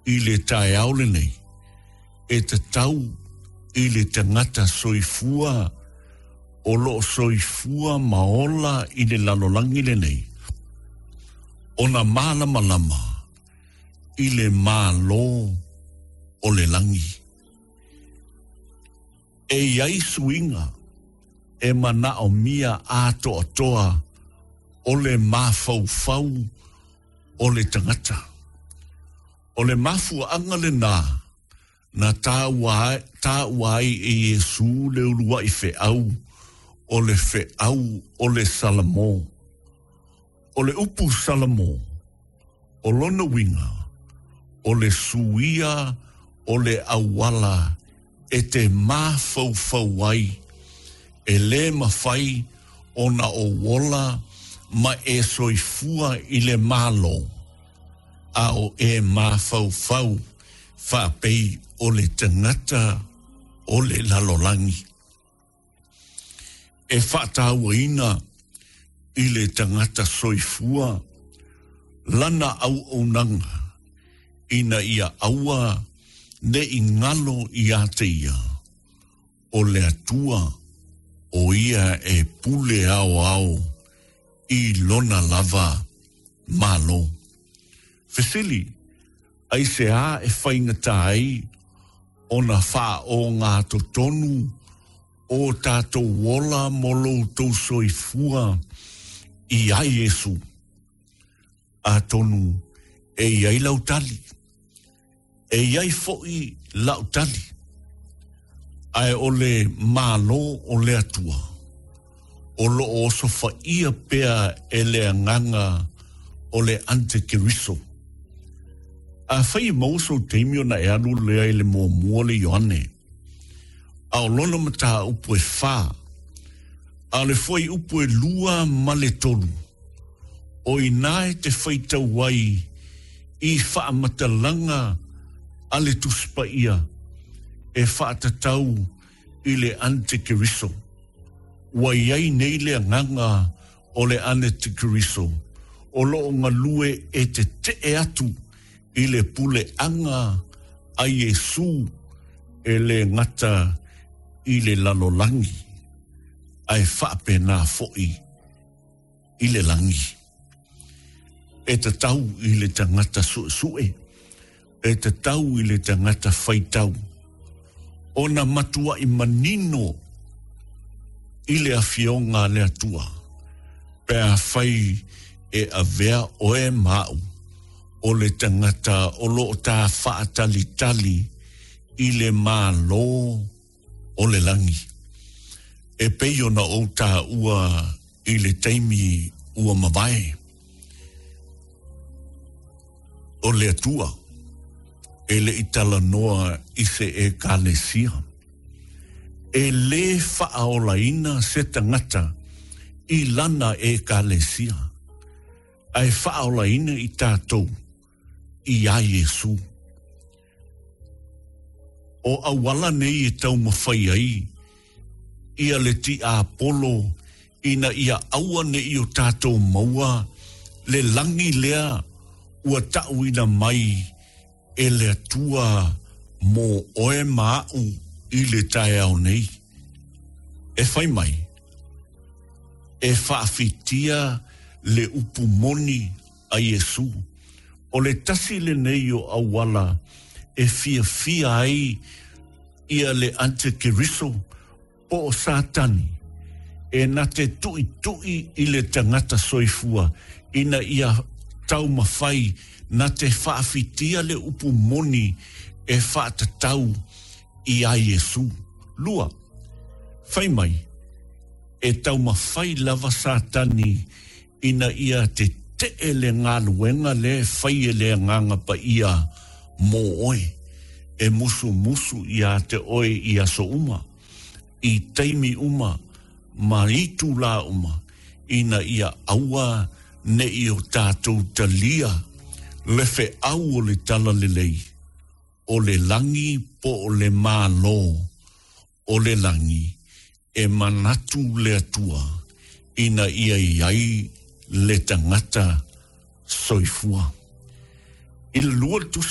i le taeao lenei, e tatau i le tagata soifua o lo o soifua ma ola i le lalolagi lenei, ona malamalama i le Malo o le lagi. E i ai suiga e manaomia atoatoa o le mafaufau o le tagata. O le mafuaaga lenā na taua taua ai e Iesū le uluai feau, o le feau o le Salamo. O le upu Salamo, o lona uiga, o le suia o le auala e te mafaufau ai, e lē mafai ona ou ola ma e soifua i le Malo, a o e mafaufau faapei o le tagata o le lalolagi. E faatauaina i le tagata soifua lana auaunaga ina ia aua ne i galo iā te ia, o le Atua o ia e pule aoao i lona lava Malo. Fesili, Aisea e faigata ai ona faaogatotonu o tātou ola mo lo outou soifua iā Iesū? Atonu e i ai lau tali, e i ai foʻi la'u tali, ae o le Malo o le Atua o lo o osofaia pea e le agaga o le antikeriso. Afai e maua sou taimi ona e alu lea i le muamua le Ioane, a o lona mataupu e fā, a o le fuaiupu e 2 ma le 3, o inā e te faitau ai i faamatalaga a le Tusi Paia e faatatau i le antikeriso. Ua i ai nei le agaga o le antikeriso o lo o galue e tetee atu i le puleaga a Iesū e lē gata i le lalolagi, ae faapena foʻi i le lagi. E tatau i le tagata suesue, e tatau i le tagata faitau, ona matuai manino i le Afioga a le Atua, pe afai e avea oe ma aʻu o le tagata o lo o ta faatalitali i le Malo o le lagi, e pei ona ou taua i le taimi ua mavae. O le Atua e le i talanoa i se Ekalesia. E lē faaolaina se tagata i lana Ekalesia, ae faaolaina i tatou iā Iesū. O auala nei e taumafai ai ia le tiapolo ina ia aua ne i o tatou maua le lagi lea ua taʻuina mai e le Atua mo oe ma aʻu i le taeao nei. E fai mai, e faafitia le upu moni a Iesū, o le tasi lenei o auala e fiafia ai ia le antikeriso po o Satani e na te tuʻituʻi i le tagata soifua ina ia taumafai na te faafitia le upu moni e faatatau iā Iesū. Lua, fai mai, e taumafai lava Satani ina ia tetee le galuega lea e fai e le Agaga Paia mō oe, e musumusu iā te oe i aso uma, i taimi uma, ma itulā uma, ina ia aua ne i o tātou talia le feau o le Talalelei, o le lagi po o le Malo o le lagi, e manatu le Atua ina ia i ai le tagata soifua. I le lua le tusi.